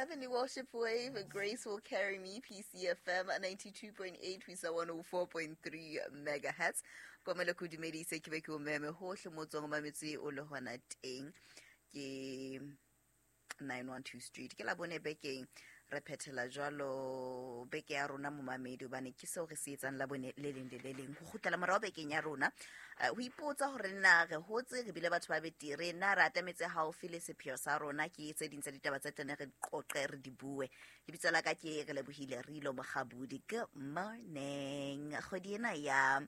Heavenly Worship Wave, Grace Will Carry Me, PCFM 92.8 ho isa 104.3 megahertz. Komelo ke o dumedise, ke be ke o meme hohle mo tswang o mametse o le hona teng. Ke 912 Street. Ke la bone bekeng re phethela jwalo beke ya rona momamedi, hobane ke seo re se etsang la bone le leng le le leng, ho kgutlela morao bekeng ya rona, ho ipotsa hore na re hotse, re bile batho ba betere, na re atametse haufi le sepheo sa rona. Ke tse ding tsa ditaba tse tene re di qoqe, re di bue. Lebitso la ka ke re lebohile Rilo Mogabudi. Good morning. Kgwedi ena ya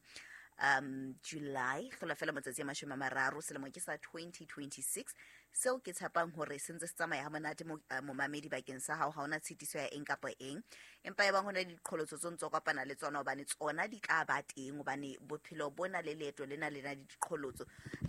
July hlola fela matsatsi a 30, selemo ke sa 2026, seo ke tshepang hore se ntse se tsamaya ha monate momamedi bakeng sa hao. Ha hona tshitiso ya eng kapa eng, empa e bang hona le diqholotso tse ntso kopana le tsona, hobane tsona di tla ba teng, hobane bophelo bona le leeto lena le na le diqholotso.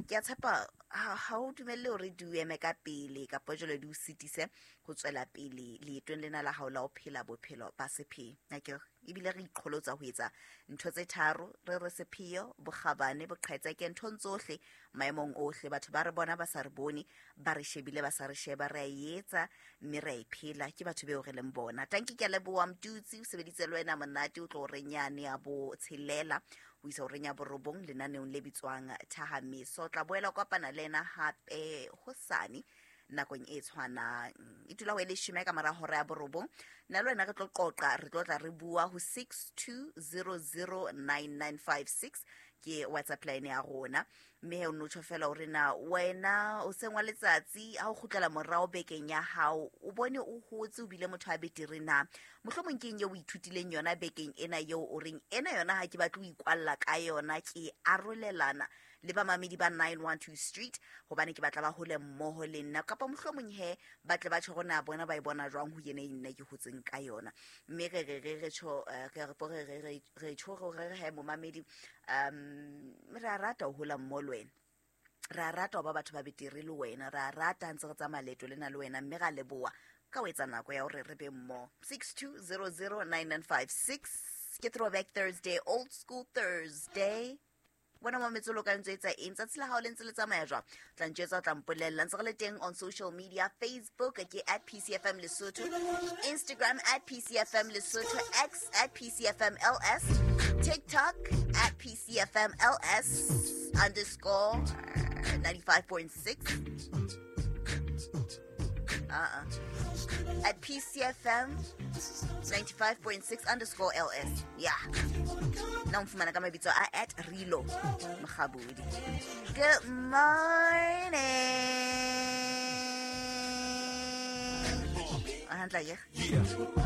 Ke a tshepa ha o dumelle hore di o eme ka pele kapa jwale di o sitise ho tswela pele leetong lena la hao la ho phela bophelo ba sepheo. Akere ebile re iqholotsa ho etsa ntho tse tharo, re re sepheo, bokgabane, boqhetseke, nthong tsohle, maemong ohle. Batho ba re bona ba sa re bone, ba re shebile ba sa re sheba, re a e etsa mme re a e phela. Ke batho beo re leng bona. Tanki, ke a leboha. Mtutsi o sebeditse le wena monate, o tlo renyane ya bo tshelela ho isa horeng ya borobong lenaneong le bitswang Thahameso. O tla boela o kopana le ena hape hosane nakong e tshwanang, e dula ho e 10 ka mora hora ya 9. Nna le wena re tlo qoqa, re tlo tla re bua ho 62009956, ke WhatsApp line ya rona. Mme he o no tjho fela hore na wena o seng wa letsatsi ha o kgutlela morao bekeng ya hao, o bone o hotse, o bile motho a betere na? Mohlomong ke eng eo o ithutileng yona bekeng ena eo o reng ena yona ha ke batle ho ikwalla ka yona, ke arolelana le bamamedi ba 912 Street, hobane ke batla ba hole mmoho le nna? Kapa mohlomong he ba tle ba tjho hore na bona ba e bona jwang ho yena e nna ke hotseng ka yona. Mme re re re re tjho, re re re re re re tjho re re he momamedi, re a rata ho hola mmoho le wena, re a rata ho ba batho ba betere le wena, re a rata ha ntse re tsamaya leeto lena le wena, mme ra leboha ka ho etsa nako ya hore re be mmoho. 62009956 ke Throwback Thursday, Old School Thursday. Bona mametse, o ka ntse etsa eng? Tsatsi la hao le ntse le tsamaya jwang? Tla ntjwetsa, o tla mpolella. Ntse re le teng on social media. Facebook ke @PCFM Lesotho, Instagram @PCFM Lesotho, X @PCFMLS, TikTok @PCFMLS_95.6, uh-uh, @PCFM95.6_LS. Yeah, nna o mfumana ka mabitso a @RiloMogabudi. Good morning. Hantle akere? Yeah.